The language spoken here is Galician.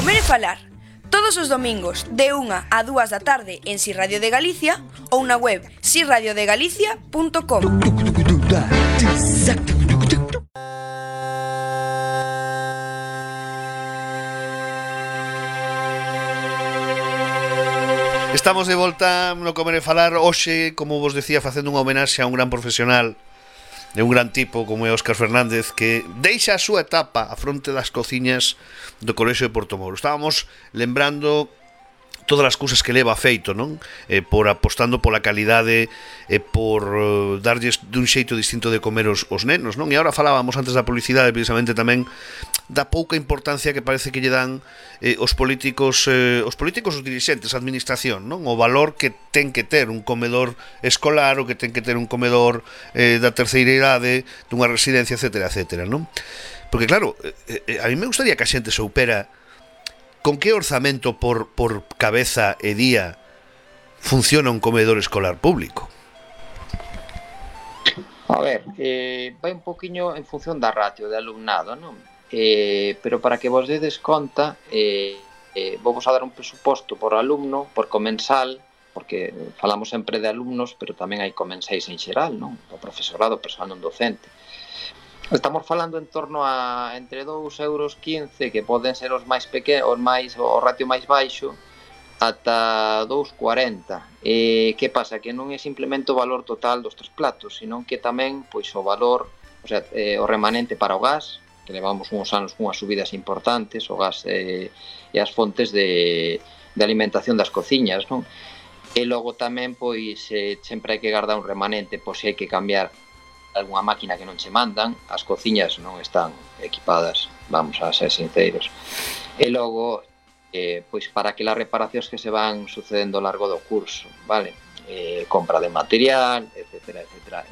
Comer e falar. Todos os domingos de 1 a 2 da tarde en Si Radio de Galicia ou na web siradiodegalicia.com. Estamos de volta no Comer e Falar. Hoxe, como vos decía, facendo unha homenaxe a un gran profesional, de un gran tipo como é Óscar Fernández, que deixa a súa etapa á fronte das cociñas do Colexio de Portomoro. Estábamos lembrando todas as cousas que leva feito, non? Por apostando pola calidade e por darlles dun xeito distinto de comer os nenos, non? E agora falábamos antes da publicidade precisamente tamén da pouca importancia que parece que lle dan os políticos, os dirixentes, a administración, non? O valor que ten que ter un comedor escolar, o que ten que ter un comedor da terceira idade, dunha residencia, etcétera, etcétera, non? Porque claro, a mí me gustaría que a xente soupera con que orzamento por cabeza e día funciona un comedor escolar público. A ver, vai un poquinho en función da ratio de alumnado, non? Pero para que vos dedes conta, vou vos a dar un presuposto por alumno, por comensal, porque falamos sempre de alumnos, pero tamén hai comensais en xeral, non? O profesorado, o persoal non docente. Estamos falando en torno a entre 2,15 euros, que poden ser os máis pequenos, o ratio máis baixo, ata 2,40. Que pasa? Que non é simplemente o valor total dos 3 platos, senón que tamén pois o valor, o sea, o remanente para o gas, que levamos uns anos cunhas subidas importantes, o gas e as fontes de alimentación das cociñas, non? E logo tamén, pois, sempre hai que guardar un remanente, pois se hai que cambiar algunha máquina que non che mandan, as cociñas non están equipadas, vamos a ser sinceros. E logo, pois para aquelas reparacións que se van sucedendo ao largo do curso, vale? Compra de material, etcétera, etcétera.